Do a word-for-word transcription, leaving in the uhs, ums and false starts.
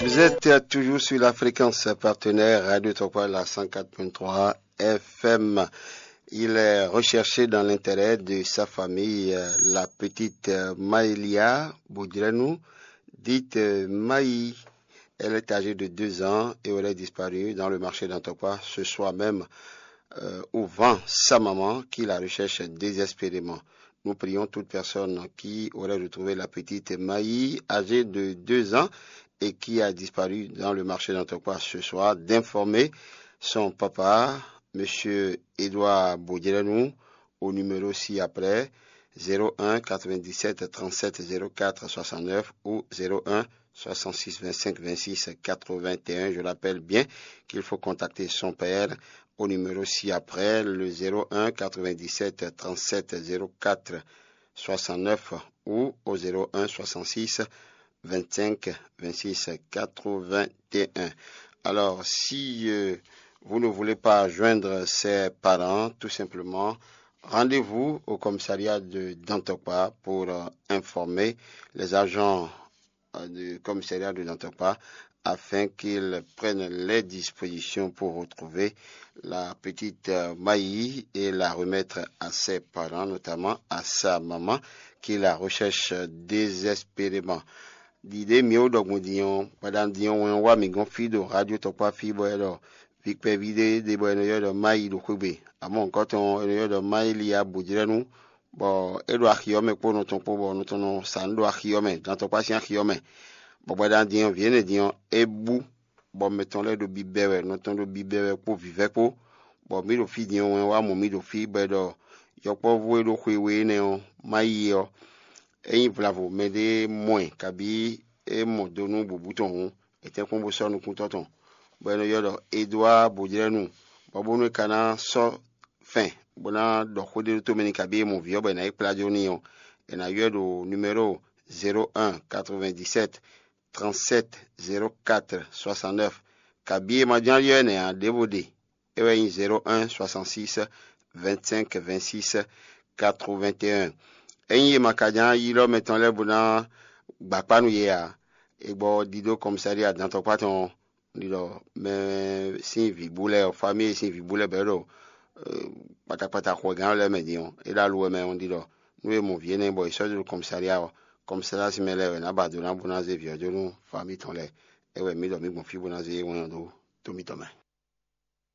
Vous êtes toujours sur la fréquence partenaire Radio Tokwa, la cent quatre point trois F M. Il est recherché dans l'intérêt de sa famille, euh, la petite, euh, Maëlia Boudrenou, dite, euh, Maï. Elle est âgée de deux ans et aurait disparu dans le marché d'Antokwa ce soir même, euh, où vend sa maman qui la recherche désespérément. Nous prions toute personne qui aurait retrouvé la petite Maï, âgée de deux ans et qui a disparu dans le marché d'Antokwa ce soir, d'informer son papa, monsieur Édouard Boudrenou, au numéro ci-après, zéro un quatre-vingt-dix-sept trente-sept zéro quatre soixante-neuf ou zéro un soixante-six vingt-cinq vingt-six quatre-vingt-un. Je rappelle bien qu'il faut contacter son père au numéro ci-après, le zéro un quatre-vingt-dix-sept trente-sept zéro quatre soixante-neuf ou au zéro un soixante-six vingt-cinq vingt-six quatre-vingt-un. Alors, si, euh, vous ne voulez pas joindre ses parents, tout simplement, rendez-vous au commissariat de Dantokpa pour, euh, informer les agents, euh, du commissariat de Dantokpa afin qu'ils prennent les dispositions pour retrouver la petite, euh, Maï et la remettre à ses parents, notamment à sa maman, qui la recherche désespérément. Ɖiɖe mǐ ó ɖɔ gbɔn din ɔ́, gbadanu din ɔ́, wɛn ɔ́ wá mǐ gɔ́n fí ɖo Radio Tɔkpá fí, bɔ é ɖɔ vǐ kpɛví ɖé ɖe bɔ è nɔ ylɔ́ ɖɔ Mayi ɖo xwé gbe. Amɔ̌, nǔkɔntɔn ɔ́, è nɔ ylɔ́ ɖɔ Mayi Liya Bǒjlɛ́nu, bɔ é ɖo axi ɔ́ mɛ kpó nɔ tɔn kpó, bɔ nɔ tɔn nɔ sa nǔ ɖo axi ɔ́ mɛ, dan tɔkpá sín axi ɔ́ mɛ. Bɔ gbadanu din ɔ́, vǐ énɛ́ din ɔ́, é bú, bɔ mɛ tɔn lɛ́ɛ ɖo bibɛ wɛ, nɔ tɔn ɖo bibɛ wɛ kpó vǐvɛ́ kpó, bɔ mǐ ɖo fí din ɔ́, wɛn wá mɔ mǐ ɖo fí, bɔ è ɖɔ yɔkpɔ́vú e ɖo xwe we énɛ́ ɔ́, Mayi ɔ́, é nyí vlavo mɛɖé mɔ ɛ, kabǐ é mɔ do nú bǔbú tɔn hǔn, è tɛ́nkpɔ́n bó sɔ́ nukúntɔ́ tɔn, bɔ è nɔ ylɔ́ ɖɔ Edouard Bojlɛ́nu, bɔ bónú é ka ná sɔ́ fɛn bó ná ɖɔ xó ɖé ɖó tomɛ n'i, kabǐ é mɔ vǐ ɔ́ bɔ è nǎ yi kplá jó n'i ɔ́, è nǎ ylɔ́ ɛ ɖo numéro zéro un quatre-vingt-dix-sept trente-sept zéro quatre soixante-neuf, kabǐ è ma ján ylɔ́ ɛ nɛ̌ ǎ, ɖěvo ɖe, é wɛ nyí zéro un soixante-six vingt-cinq vingt-six quatre-vingt-un. Ényí è ma ka ján ylɔ́ mɛ tɔn lɛ́ɛ bó ná gbǎ kpá nú yě ǎ, è gbɔ ɖidó kɔmsáɖí adantɔkpá tɔn ɔ́, un ɖi ɖɔ mɛ sín vǐ bú lɛ́ɛ ɔ́, famíyi sín vǐ bú lɛ́ɛ bɔ é ɖo kpatakpata xwɛgán lɛ́ɛ mɛ din ɔ́, é ɖo aluwɛ mɛ ɔ́, un ɖi ɖɔ nú è mɔ vǐ énɛ́ bɔ è sɔ́ dó ɖo kɔmsáɖí ɔ́, kɔmsáɖí sín mɛ lɛ́ɛ wɛ nǎ ba do ná bó ná zé vǐ ɔ́ jó nú famíyi tɔn lɛ́ɛ. É wɛ mǐ ɖɔ mǐ gbɔn fí bó ná zé wɛn ɔ́ dó tó mǐtɔn mɛ.